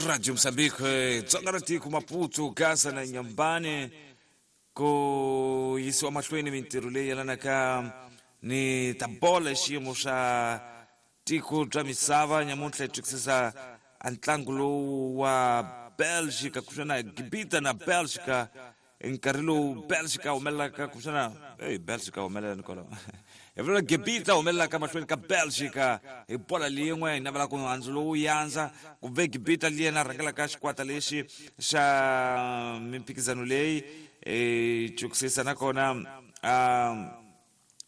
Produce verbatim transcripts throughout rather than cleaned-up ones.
Radio Mozambique, Dzonga ra tiko, Maputo, Gaza na Nyambane, ku yisiwa mahlweni mintirho leyi yelanaka ni ta bola xiyimo xa tiko bya misava. Nyamuntlha hi twisisa a ntlangu lowu wa Belgica kuxana Gibita na Belgica, nkarhi lowu Belgica humelelaka kuxana hey Belgica humelela nikolo hi vula Gibita humelelaka mahlweni ka Belgica hi bola lin'we. Hi navela ku handzu lowu yandza ku ve Gibita liya rhangelaka xikwata lexi xa mimphikizano leyi e chukisisa nakona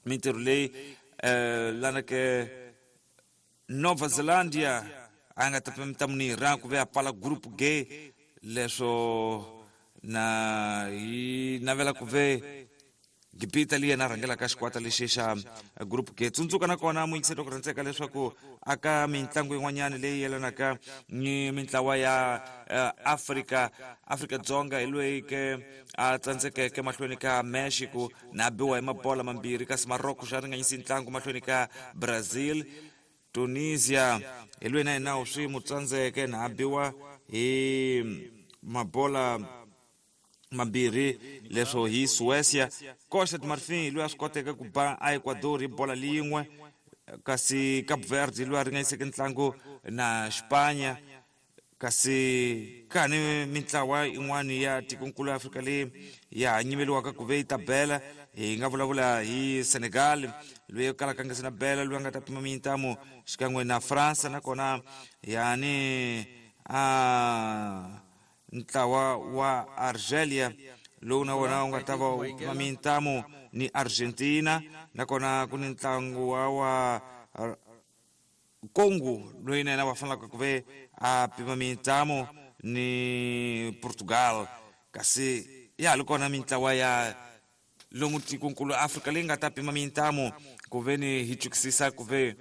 mintirho leyi lana ke Nova Zelandia a nga ta ta ku ve a pfala group G leswo na hi navela ku ve Gibita liya na rhangelaka xikwata lexi xa group G. Tsundzuka nakona muyingiseri ku rhandzeka leswaku aka mintlangu yin'wanyana leyi yelanaka ni mintlawa ya Afrika, Afrika Dzonga hi loyi ke a tsandzekeke mahlweni ka Mexico na biwa hi mabola mambirhi, kasi Morocco xa ringanyisi ntlangu mahlweni ka Brazil. Tunisia hi loyi na yena swi mu tsandzeke na biwa hi mabola mambirhi leswo hi Suecia. Costa de Marfin loyi a swi koteke ku ba a Ecuador hi bola lin'we, kasi Cape Verde loyi a ringanyiseke ntlangu na Spanya. Kasi kani mintlawa yin'wana ya tikonkulu ya Afrika leyi ya ha nyimeliwaka ku ve yi ta bela, hi nga vulavula hi Senegal loyi kalaka nga se na bela, loyi a nga ta pima mintamu xikan'we na France, nakona yani a ntlawa wa Argelia lowu na wona wu nga ta va wu pima mintamu ni Argentina, nakona ku ni ntlangu wa wa Congo loyi na yena va fanelaka ku ve a pima mintamu ni Portugal. Kasi ya ha ri kona mintlawa ya lomu tikonkulu Afrika leyi nga ta pima mintamu ku ve ni hi chukisisa ku ve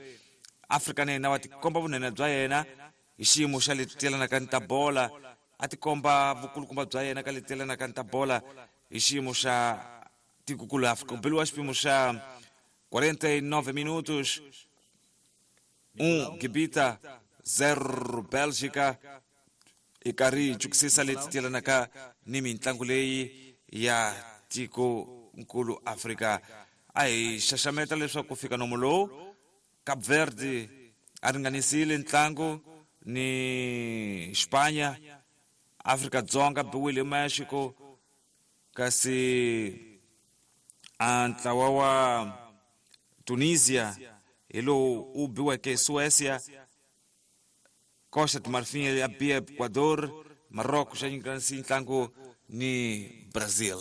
Afrika na yena wa tikomba vunene bya yena hi xiyimo xa leti yelanaka ni ta bola, a tikomba vukulukumba bya yena ka leti yelanaka ni ta bola hi xiyimo xa tikokulu Afrika. Ku beliwa xipimo xa quarenta e nove minutos, um Gibita zero Belgica. Hi karhi hi chukisisa leti yelanaka ni mintlangu leyi ya tikonkulu Afrika. A hi xaxameta leswaku ku fika nomo lowu Cape Verde a ringanisile ntlangu ni Spanya, Afrika Dzonga biwile Mexico, kasi a ntlawa wa Tunisia hi lowu wu biweke Suecia, Costa de Marfin ya biya Ecuador, Morocco xa nyikana ntlangu ni Brazil.